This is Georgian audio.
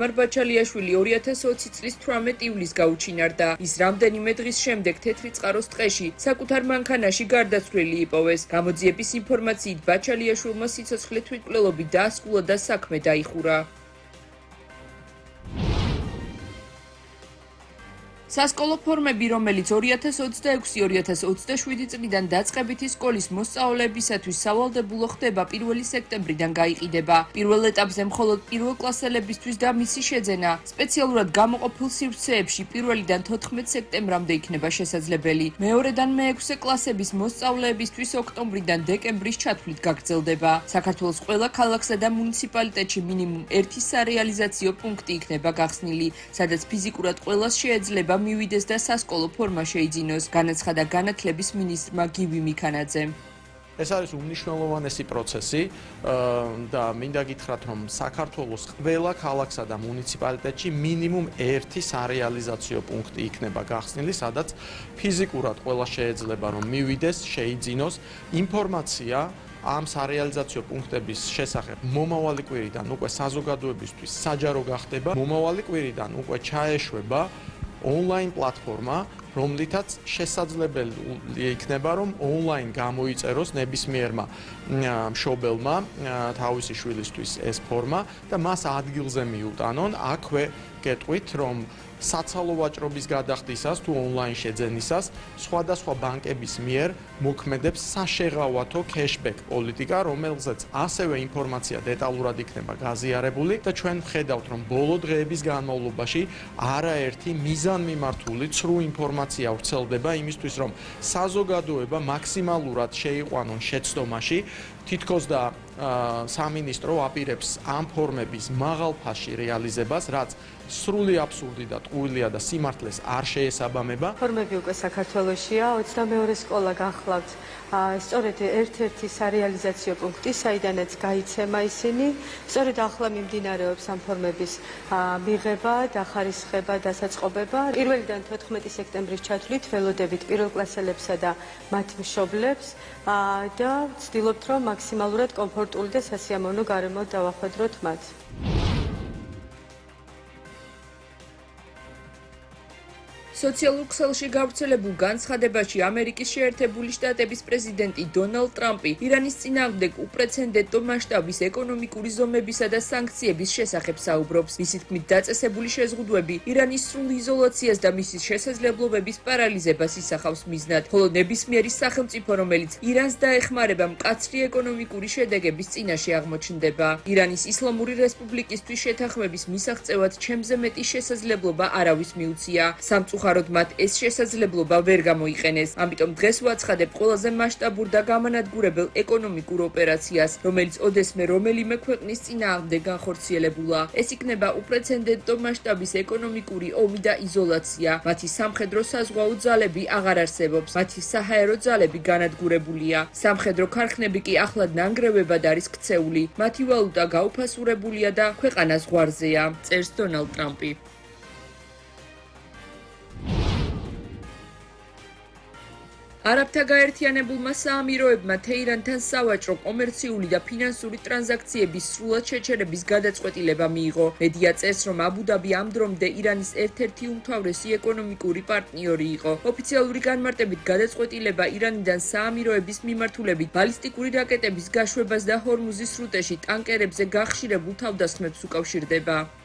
მარბაჩალიაშვილი 2020 წლის 18 ივლისს გაუჩინარდა. ის რამდენიმე დღის შემდეგ თეთრი წყაროს ტყეში საკუთარ მანქანაში გარდაცვლილი იპოვეს. გამოძიების ინფორმაციით ბაჩალიაშვილმა სიცოცხლე თვითმკვლელობით დაასკულა და საქმე დაიხურა. სასკოლო ფორმები, რომელიც 2026-2027 წლიდან დაწყებითი სკოლის მოსწავლეებისათვის სავალდებულო ხდება 1 სექტემბრიდან გაიყიდება. პირველ ეტაპზე მხოლოდ პირველკლასელებისთვის და მისი შეძენა სპეციალურად გამოყოფილ სივრცეებში 1-დან 14 სექტემბრამდე იქნება შესაძლებელი. მეორედან მე-6 კლასების მოსწავლეებისთვის ოქტომბრიდან დეკემბრის ჩათვლით გაგრძელდება. საქართველოს ყველა ქალაქსა და მუნიციპალიტეტში მინიმუმ 1 სარეალიზაციო პუნქტი იქნება გახსნილი, სადაც ფიზიკურად ყველას შეეძლება მივიდეს და სასკოლო ფორმა შეიძინოს, განაცხადა განათლების მინისტრმა გივი მიქანაძემ. ეს არის უმნიშვნელოვანესი პროცესი და მინდა გითხრათ, რომ საქართველოს ყველა ქალაქსა და მუნიციპალიტეტში მინიმუმ 1 სარეალიზაციო პუნქტი იქნება გახსნილი, სადაც ფიზიკურად ყველა შეეძლება რომ მივიდეს, შეიძინოს ინფორმაცია ამ სარეალიზაციო პუნქტების შესახებ მომავალი კვირიდან უკვე საზოგადოებისთვის საჯარო გახდება. მომავალი კვირიდან უკვე ჩაეშვება ონლაინ პლატფორმა, რომლითაც შესაძლებელი იქნება, რომ ონლაინ გამოიწეროს ნებისმიერმა მშობელმა თავისი შვილისთვის ეს ფორმა და მას ადგილზე მიუტანონ. აქვე გეტყვით, რომ საცალო ვაჭრობის გადახდისას თუ ონლაინ შეძენისას სხვადასხვა ბანკების მიერ მოქმედებს საშეღავათო cashback პოლიტიკა, რომელზეც ასევე ინფორმაცია დეტალურად იქნება გაზიარებული და ჩვენ ვხედავთ, რომ ბოლო დღეების განმავლობაში არაერთი მიზანმიმართული ცრუ ინფორმაცია ვრცელდება იმისთვის, რომ საზოგადოება მაქსიმალურად შეიყვანონ შეცდომაში. თითქოს და სამინისტრო აპირებს ამ ფორმების მაღალ ფასში რეალიზებას, რაც სრული აბსურდი და ტყუილია და სიმართლეს არ შეესაბამება. ფორმები უკვე საქართველოშია, 22 სკოლა გახლავთ. სწორედ ერთ-ერთი სარეალიზაციო პუნქტი, საიდანაც გაიცემა ისინი. სწორედ ახლა მიმდინარეობს ამ ფორმების მიღება, დახარისხება, დასაწყობება. 1-დან 14 სექტემბრის ჩათვლით ველოდებით პირველკლასელებსა და მათ მშობლებს და ვცდილობთ, რომ მაქსიმალურად კომფორტული და სასიამოვნო გარემო დავახვედროთ მათ. სოციალურ ქსელში გავრცელებულ განცხადებაში ამერიკის შეერთებული შტატების პრეზიდენტი დონალდ ტრამპი ირანის წინააღმდეგ უპრეცედენტო მასშტაბის ეკონომიკური ზომებისა და სანქციების შესახებ საუბრობს. მისი თქმით, დაწესებული შეზღუდვები ირანის სრულ იზოლაციას და მისი შესაძლებლობების პარალიზებას ისახავს მიზნად, ხოლო ნებისმიერი სახელმწიფო, რომელიც ირანს დაეხმარება, მკაცრი ეკონომიკური შედეგების წინაშე აღმოჩნდება. ირანის ისლამური რესპუბლიკისთვის შეთანხმების მისაღწევად ჩემზე მეტი შესაძლებლობა არავის მიუცია. სამწუხაროდ მათ ეს შესაძლებლობა ვერ გამოიყენეს. ამიტომ დღეს ვაცხადებ ყველაზე მასშტაბურ და გამანადგურებელ ეკონომიკურ ოპერაციას, რომელიც ოდესმე რომელიმე ქვეყნის წინააღმდეგ განხორციელებულა. ეს იქნება უპრეცედენტო მასშტაბის ეკონომიკური ომი და იზოლაცია. მათი სამხედრო საზღვაო ძალები აღარ არსებობს. მათი საჰაერო ძალები განადგურებულია. სამხედრო ქარხნები კი ახლად ნანგრევებად არის ქცეული. მათი ვალუტა გაუფასურებულია და ქვეყანა ზღვარზეა, წერს დონალდ ტრამპი. არაბთა გაერთიანებულმა საამიროებმა თეირანთან სავაჭრო, კომერციული და ფინანსური ტრანზაქციების სრულად შეჩერების გადაწყვეტილება მიიღო. მედია წერს, რომ აბუ-დაბი ამ დრომდე ირანის ერთ-ერთი უმთავრესი ეკონომიკური პარტნიორი იყო. ოფიციალური განმარტებით გადაწყვეტილება ირანიდან საამიროების მიმართულებით ბალისტიკური რაკეტების გაშვებას და ჰორმუზის სრუტეში ტანკერებზე გახშირებულ თავდასხმებს უკავშირდება.